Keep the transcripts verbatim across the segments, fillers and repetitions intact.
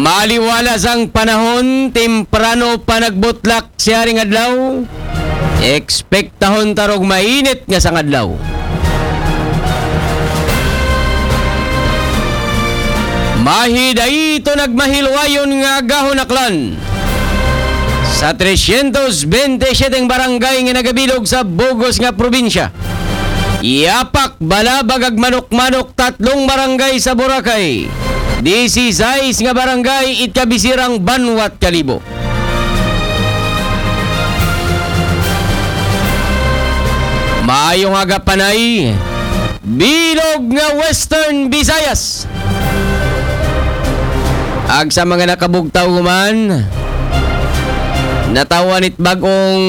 Aliwala sang panahon, temprano pa nagbutlak siya ring adlaw. Ekspektahon ta rong mainit nga sang adlaw. Mahi dayto nagmahilwayon nga agahon aklan sa trescientos bente siyete barangay nga nagabilog sa bug-os nga probinsya. Yapak, Balabag ug Manok-Manok, tatlong barangay sa Boracay. Disisais nga barangay it kabisirang banwat Kalibo. Maayong aga, Panay, bilog nga Western Visayas. Ug sa mga nakabugtaw human, natawan it bag-ong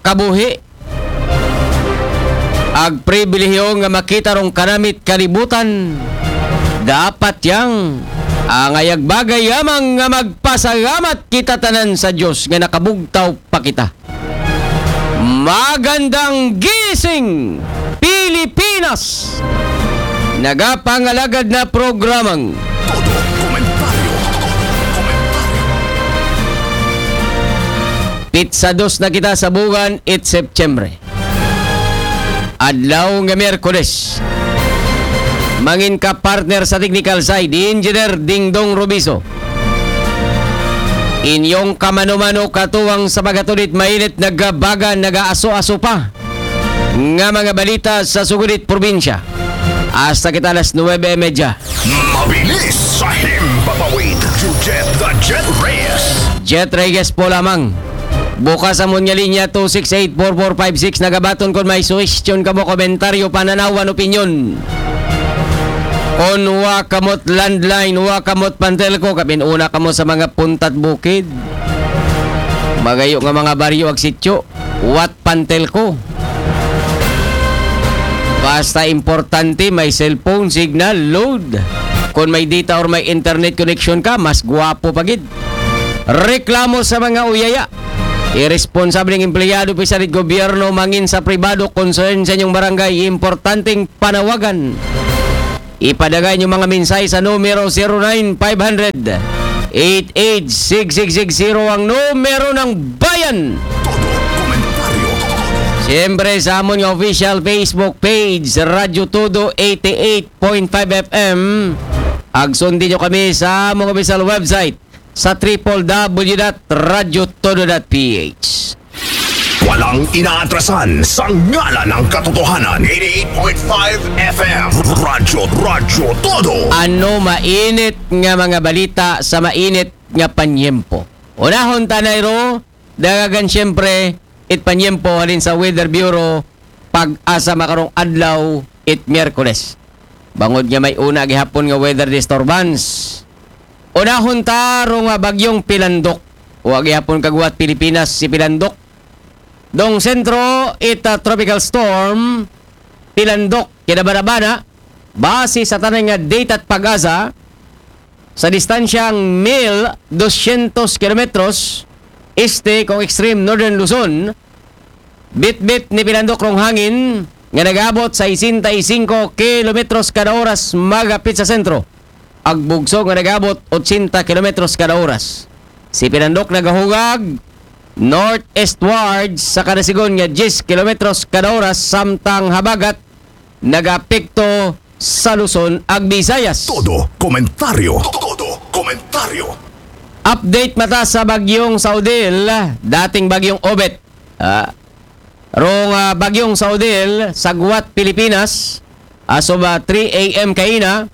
kabuhi ug pribilehiyo nga makita rong kanamit kalibutan. Dapat yang angayag bagay lamang nga magpasalamat kita tanan sa Dios nga nakabugtaw pa kita. Magandang gising, Pilipinas! Nagapangalagad na programang Todo Komentaryo. Todo Komentaryo. Pitsa dos na kita sa bulan it Setyembre. Adlaw nga Miyerkules. Mangin ka partner sa technical side, Engineer Dingdong Robiso. Inyong kamano-mano katuwang sa paghatod it mainit, nagabaga, nagaaso-aso pa nga mga balita sa sugod it probinsya. Hasta kita alas nuwebe y medya. Mabilis sa himpapawid, Jujet the Jet Reyes. Jet Reyes po lamang. Bukas amon nga linya, two six eight four four five six. Nagabaton kon may suhestyon kamo, komentaryo, pananawan, opinyon. Kon wa kamo't landline, wa kamo't Pantelco, kapin-una kamo sa mga punta't bukid. Magayo nga mga baryo ug sityo, wa't Pantelco. Basta importante, may cellphone signal, load. Kon may data or may internet connection ka, mas gwapo pa gid. Reklamo sa mga uyaya. Iresponsableng empleyado, opisyal it gobyerno, mangin sa pribado, concern sa inyong barangay, importanteng panawagan. Ipadala inyong mga mensahe sa numero zero nine five hundred, eight eight six six six zero, ang numero ng bayan. Todo komentaryo. Siyempre, sa amon nga official Facebook page, Radyo Todo eighty-eight point five F M. Ug sundin nyo kami sa among official website sa triple W dot radyo todo dot P H. Walang inaatrasan sa ngalan ng katotohanan. Eighty-eight point five F M. Radyo, Radyo Todo. Ano mainit nga mga balita sa mainit nga panyempo? Unahon ta na ro, dagagan siyempre, it panyempo halin sa Weather Bureau, PAGASA, makarong adlaw, it Miyerkules. Bangod nga may una gihapon nga weather disturbance. Unahon ta ro nga bagyong Pilandok. Wa gihapon kagwat Pilipinas si Pilandok. Dong sentro it, ah, tropical storm, Pilandok, kinabanabana, base sa tanan nga data at PAGASA, sa distansyang mil dosyentos kilometros este kong extreme northern Luzon, bitbit ni Pilandok rong hangin nga nagaabot sesenta y cinco kilometros kada oras magapit sa sentro, ug bugso nga nagaabot ochenta kilometros kada oras. Si Pilandok nagahugag northeastward sa kada sigon nga diyes kilometros kada oras, samtang habagat nagaapekto sa Luzon ug Visayas. Todo komentaryo. Todo komentaryo. Update mata sa bagyong Saudil, dating bagyong Obet. Ah, rong, ah, bagyong Saudil, sagwat Pilipinas, asoba three A M kaina,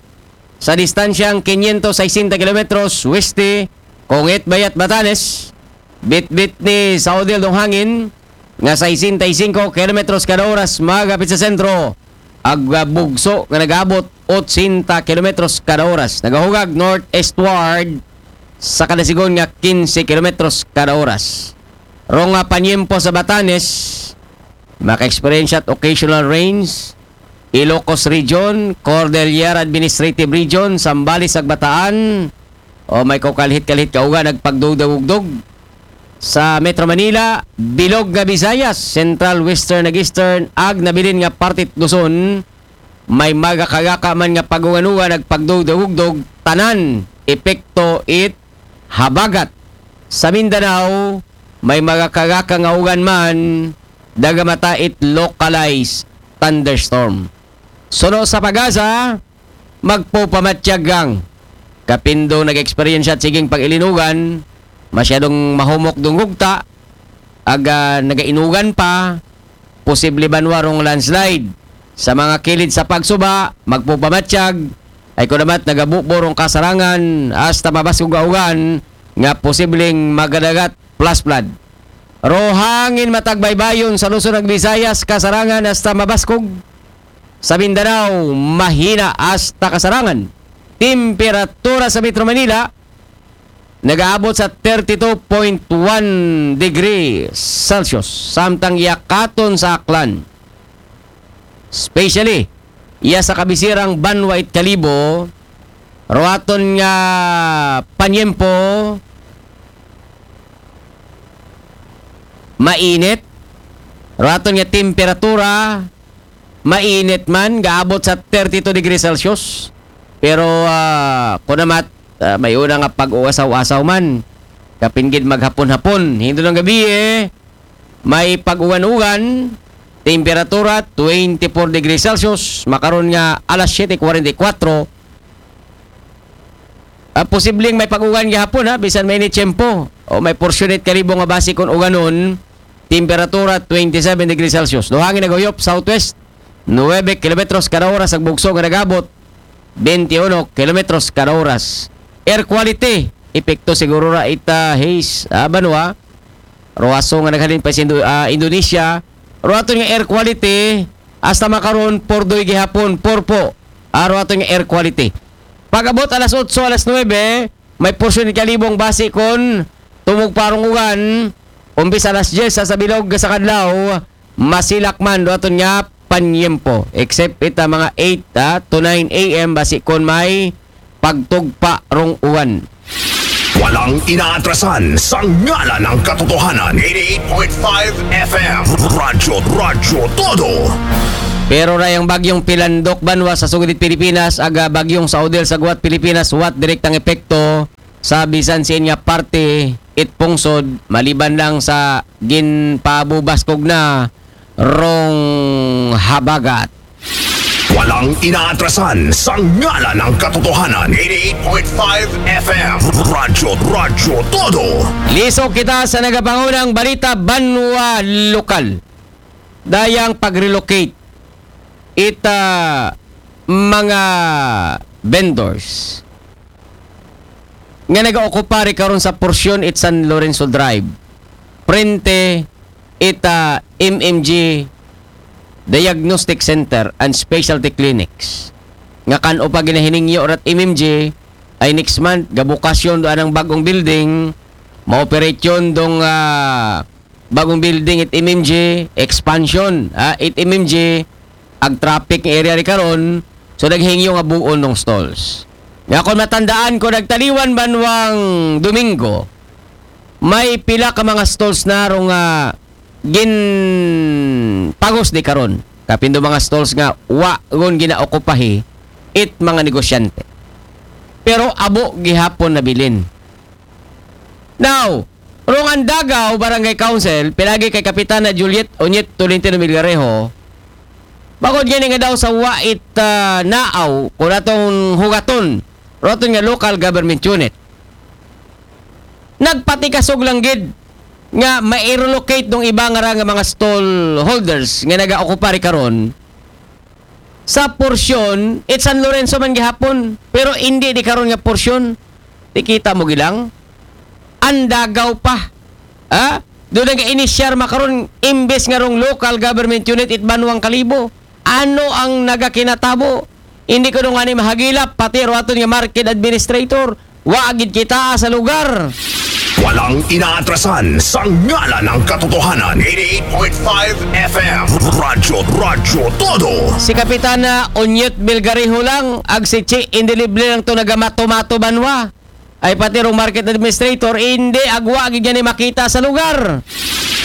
sa distansyang kinyentos sesenta kilometros weste kong Itbayat, Batanes. Bitbit ni Saudil dong hangin nga sesenta y cinco kilometros kada oras magapit sa sentro, ug, ah, bugso nga nagaabot ochenta kilometros kada oras. Nagahugag northeastward sa kada sigon nga kinse kilometros kada oras. Rong, ah, panyempo sa Batanes, maka-experience at occasional rains, Ilocos Region, Cordillera Administrative Region, Zambales ug Bataan, o may kakalhit-kalhit kauga nagpagdugdog-ugdog. Sa Metro Manila, bilog nga Visayas, Central, Western ug Eastern, ug nabilin nga parte Luzon, may magakagaka man nga pagungan-ungan nagpagdugdog-ugdog, tanan epekto it habagat. Sa Mindanao, may magakagaka nga ugan man, dagamata it localized thunderstorm. Suno sa PAGASA, magpupamatyag ang kapin do nag-eksperyensya siging pag-ilinugan, masyadong mahumok dungugta, aga nagainugan pa, posible banwa rong landslide. Sa mga kilid sa pagsuba, magpupamatyag, ay kunamat nagabubo rong kasarangan, hasta mabaskog nga ugan, nga posibleng magadagat plus flood. Ro hangin matag baybayon sa Luzon ug Visayas, kasarangan hasta mabaskog. Sa Mindanao, mahina hasta kasarangan. Temperatura sa Metro Manila, nagaabot sa thirty-two point one degree Celsius. Samtang yakaton sa Aklan, especially iya sa kabisirang banwa it Kalibo, ruaton nga panyempo, mainit, ruaton nga temperatura, mainit man, gaabot sa thirty-two degrees Celsius. Pero, ah, kunamat, ah, may una nga pag-uasaw-asaw man. Kapin gid maghapon-hapon. Hinto ng gabi, eh, may pag-uwan-uwan. Temperatura, twenty-four degrees Celsius. Makaron nga alas siyete kwarenta y kuwatro. Ah, posibleng may pag-uwan gihapon, ha, bisan may ni tiyempo. O may porsyon it Kalibo nga basi kon uganon, temperatura twenty-seven degrees Celsius. Ro hangin nagahuyop southwest, nuwebe kilometros kada oras, ug bugso nga nagabot, twenty-one kilometros kada oras. Air quality, epekto siguro ra it, ah, haze, ah, banwa. Ro aso nga naghalin pa sa Indo-, ah, Indonesia. Ruaton nga air quality, hasta makaron, purdoy gihapon, purpo. Ah, ruaton nga air quality. Pag-abot alas otso, alas nuwebe, may porsyon it Kalibo nga basi kon tumugpa rong ugan, umpisa alas dyes sa bilog sa kadlaw, masilak man, ruaton nga panyempo. Except ita mga eight, ah, to nine a m, basi kon may pagtugpa rong uwan. Walang inaatrasan sa ngalan ng katotohanan. Eighty-eight point five F M. Radyo, Radyo Todo. Pero ra yang bagyong Pilandok banwa sa sugod it Pilipinas, aga bagyong sa Odile sa guwat Pilipinas, wat direktang epekto sa bisan sin nga parte it pungsod, maliban lang sa ginpabubaskog na rong habagat. Walang inaatrasan sa ngalan ng katotohanan. Eighty-eight point five F M. Radyo, Radyo Todo. Lisok kita sa nagapangunang balita banwa lokal. Dayang pag-relocate ita mga vendors nga nagaokupa ri karon sa porsyon it San Lorenzo Drive, prente ita M M G Diagnostic Center and Specialty Clinics, nga kan-o pa ginahiningyo rat M M G, ay next month gabukasyon do anang bag-ong building, maoperasyon dong, ah, bag-ong building it M M G, expansion, ah, it M M G, ag traffic nga area ri karon, so naghingyo nga buon dong stalls. Nga kon matandaan ko, nagtaliwan banwang Domingo, may pila ka mga stalls na rong, ah, ginpagos di karon. Kapin do mga stalls nga wa gon ginaokupahi it mga negosyante. Pero abo gihapon nabilin. Now, rong Andagaw Barangay Council, pinagi kay Kapitana Juliet Onyet Tolentino Milgarejo, bangod gani nga daw sa wa it, ah, naaw, kung atong hugaton, ruaton nga local government unit, nagpatikasog lang gid nga ma-relocate dong iba nga ra nga mga stall holders nga nagaokupa ri karon sa porsyon, it San Lorenzo man gihapon, pero hindi di karon nga porsyon. Di kita mo gilang? Andagaw pa. Ha? Doon nga inisyar makaron, imbes nga rong local government unit it Banwang Kalibo. Ano ang nagakinatabo? Hindi ko nung ani mahagilap, pati ro aton nga market administrator. Wa gid kita sa lugar. Walang inaatrasan sa ngalan ng katotohanan. Eighty-eight point five F M. Radyo, Radyo Todo. Si Kapitana Onyet Belgariho lang, ag si Chi Indelible lang to nagamato-mato banwa. Ay pati rong market administrator, hindi, agwa gid ni makita sa lugar.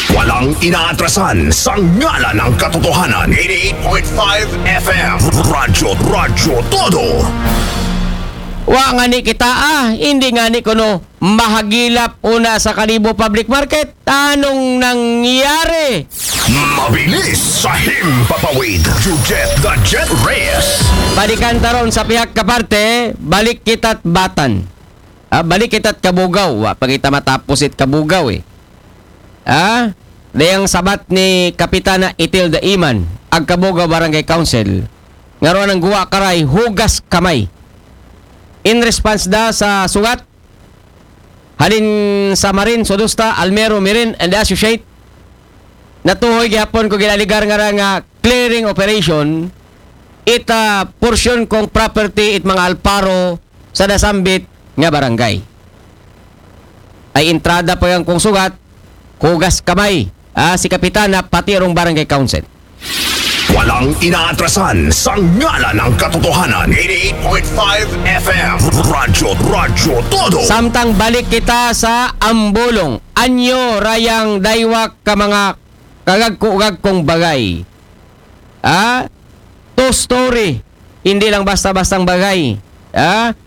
Walang inaatrasan sa ngalan ng katotohanan. Eighty-eight point five F M. Radyo, Radyo Todo. Wa ngani kita, ah, hindi ngani kuno mahagilap una sa Kalibo Public Market. Anong nangyari? Mabilis sa himpapawid. You get the jet race. Balikan taron sa pihak kaparte, balik kita't Batan. Ah, balik kita't Kabugaw. Wa pa kita matapos it Kabugaw eh. Ah, dayang sabat ni Kapitana Itilda Iman, ag Kabugaw Barangay Council, nga aron ang guwa karay hugas kamay. In response da sa sugat, halin sa Marin Sodusta, Almero Mirin and Associate, natuhoy gihapon ko ginaligar nga ra nga clearing operation, it ah, porsyon kong property it mga alparo sa nasambit nga barangay. Ay entrada pa yang kong sugat, hugas kamay, ah, si Kapitana pati rong barangay council. Walang inaatrasan sa ngalan ng katotohanan. eighty-eight point five F M. Radyo, Radyo Todo. Samtang balik kita sa Ambulong, anyo rayang daywak ka mga kagagko-gagkong bagay. Ah, two story, hindi lang basta-bastang bagay. Ah,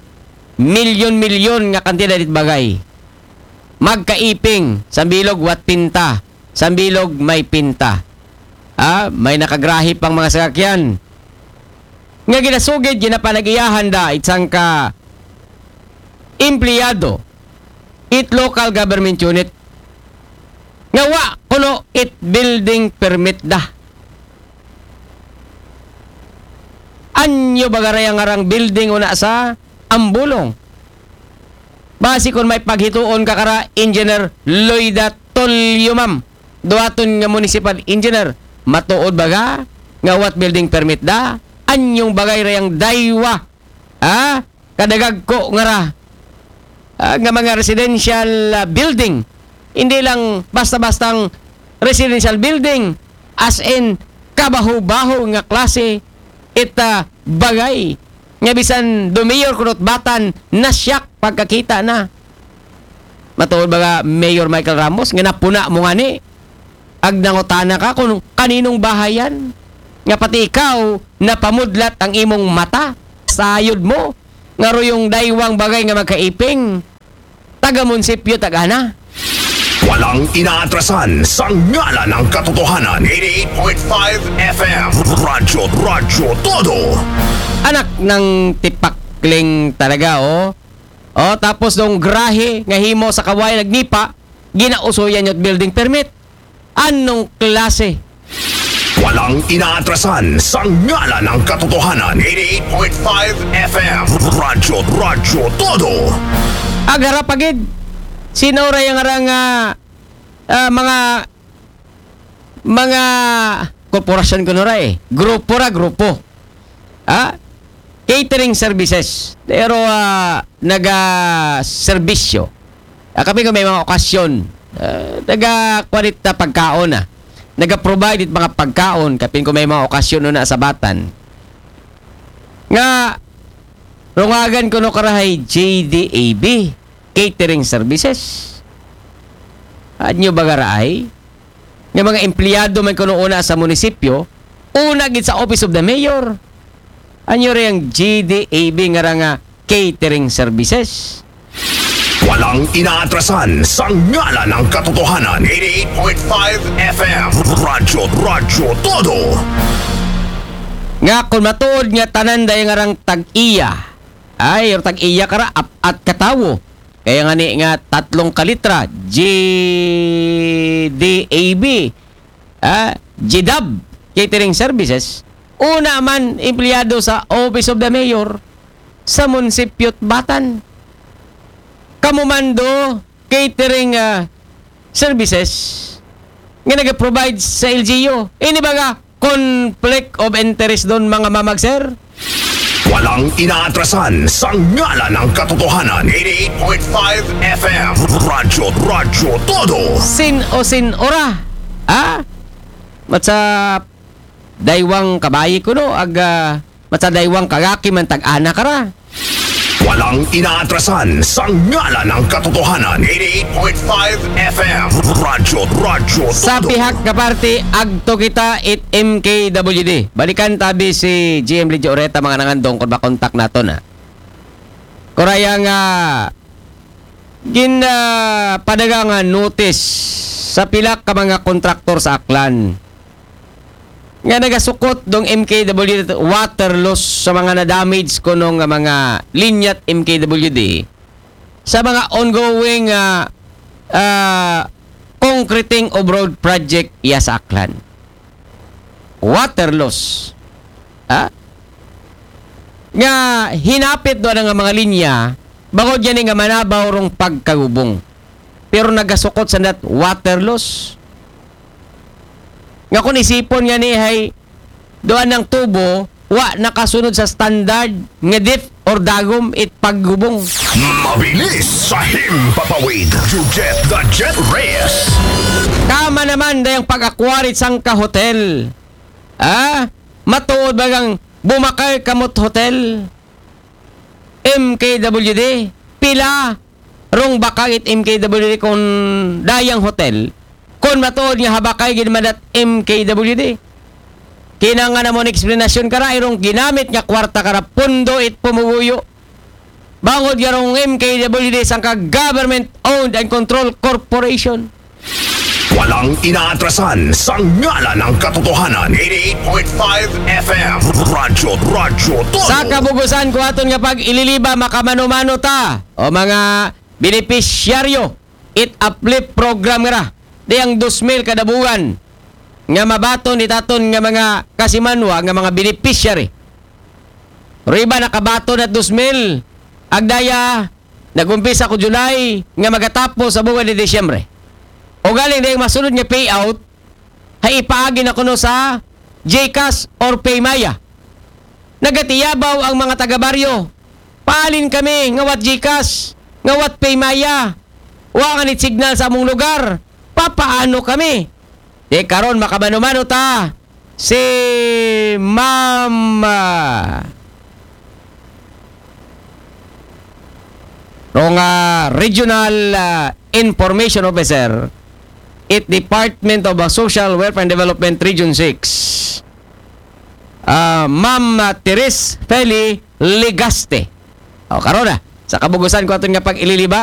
milyon-milyon nga kantidad it bagay. Magkaiping, sambilog wat pinta, sambilog may pinta. Ah, may nakagrahi pang mga sakakyan. Nga ginasugid, ginapanag-iyahan da, it sangka empleyado, it local government unit. Nga wa kuno it building permit da. Anyo ba garay ang arang building una sa Ambulong? Basi kung may paghituon ka kara Engineer Lloyda Tolyo, ma'am, duwaton nga municipal engineer, matuod ba ga nga what building permit da? Anyong bagay rayang daywa, ha? Kadagagko nga ra, ah, nga mga residential, ah, building. Hindi lang basta-bastang residential building, as in kabaho-baho nga klase ita bagay nga bisan do mayor kunot Batan, nasyak pagkakita na. Matuod ba ga Mayor Michael Ramos nga napuna mo ngani? Ag nangutana ka kung kaninong bahayan? Nga pati ikaw napamudlat ang imong mata, sayod mo nga ruyong daywang bagay nga magkaiping taga munisipyo tag-ana. Walang inaatrasan sa ngalan ng katotohanan. eighty-eight point five F M. Radyo, Radyo Todo. Anak ng tipakling talaga, oh. Oh, tapos nung grahe nga himo sa kaway nagnipa, ginausoyan niyo't building permit. Anong klase? Walang inaatrasan sa ngalan ng katotohanan. eighty-eight point five F M. Radyo, Radyo Todo. Agara pagid. Sino ra yung arang, ah, ah, mga mga korporasyon kuno ra eh. Grupo ra, grupo. Ha? Catering services. Pero ah, naga-serbisyo. Ah, kami kung may mga okasyon, ah, naga-kuha dit na pagkaon na. Naga-provide it mga pagkaon, kapin kung may mga okasyon na sa Batan. Nga, rungagan ko no karahay J D A B, catering services. Anyo ba garaay? Nga mga empleyado man kuno una sa munisipyo, una gid sa Office of the Mayor. Anyo rin ang G D A B nga ra nga catering services. Walang inaatrasan sa ngalan ng katotohanan. eighty-eight point five F M. Radyo, Radyo Todo. Nga kung matuod nga tanan dahil nga rang tag-iya, ay, or tag-iya kara, apat katawo. Kaya nga ni nga tatlong kalitra, G D A B, ah, G D A B, catering services, una man empleyado sa Office of the Mayor, sa Munisipyo't Batan. Kamumando, catering, ah, services, nga nag-provide sa L G U. Ini baga, conflict of interest doon, mga mamag, sir? Walang inaatrasan sa ngalan ng katotohanan. eighty-eight point five F M. Radyo, Radyo Todo. Sin o sin ora? Ha? Matsa daywang kabayi kuno, ag, ah, matsa daywang kagaki man tag-ana kara. Walang inaatrasan sa ngalan ng katotohanan. eighty-eight point five F M. Radyo, Radyo Todo. Sa pihak nga parte, agto kita it M K W D. Balikan tabi si G M Lydia Oreta, mga nangandong, kung makontak nato na. Kuraya nga gin ah, padaga nga notice sa pila ka mga kontraktor sa Aklan nga nagasukot dong M K W water loss sa mga na-damage kuno nga mga linya it M K W D sa mga ongoing ah, ah, concreting of road project iya sa Aklan. Water loss. Ha? Nga hinapit do nga mga linya, bangod gani nga manabaw rong pagkagubong. Pero nagasukot sa nat water loss. Nga kung isipon nga ni hay doon ng tubo, wa nakasunod sa standard nga depth or dagom it paggubong. Mabilis sa himpapawid. Jujet the Jet Reyes. Kama naman dayang pag-akwari sangka hotel. Ah, matuod ba kang bumakay kamot hotel? M K W D. Pila rong bakag it M K W D kung dayang hotel? Kung matuod nga habakay gid man dat M K W D. Kinanga na mo ng eksplanasyon kara, irong ginamit nga kwarta kara pundo it pumuguyo. Bangod nga rong M K W D sangka government owned and controlled corporation. Walang inaatrasan sa ngalan ng katotohanan. eighty-eight point five F M. Radyo, Radyo Todo. Sa kabugusan ko aton nga pag-ililiba, makamano-mano ta o mga benepisyaryo it uplift program nga ra. Di ang dos mil kada buwan nga mabaton it aton nga mga kasimanwa nga mga beneficiary. Riba nakabaton at dos mil, agdaya nag-umpisa ko July nga magatapos sa buwan ni Disyembre. O galing dahil masunod nga payout, hay ipaagi na kuno sa GCash or Paymaya. Nagatiyabaw ang mga taga-baryo. Paalin kami, ngawat GCash, ngawat Paymaya. Wa nga ni signal sa among lugar. Papaano kami? Di karon makamano-mano ta. Si Ma'am ah, rong ah, Regional ah, Information Officer it Department of ah, Social Welfare and Development Region six. Ah, Ma'am ah, Therese Feli Legaste. O, karon na, sa kabugusan ko aton nga pag-ililiba,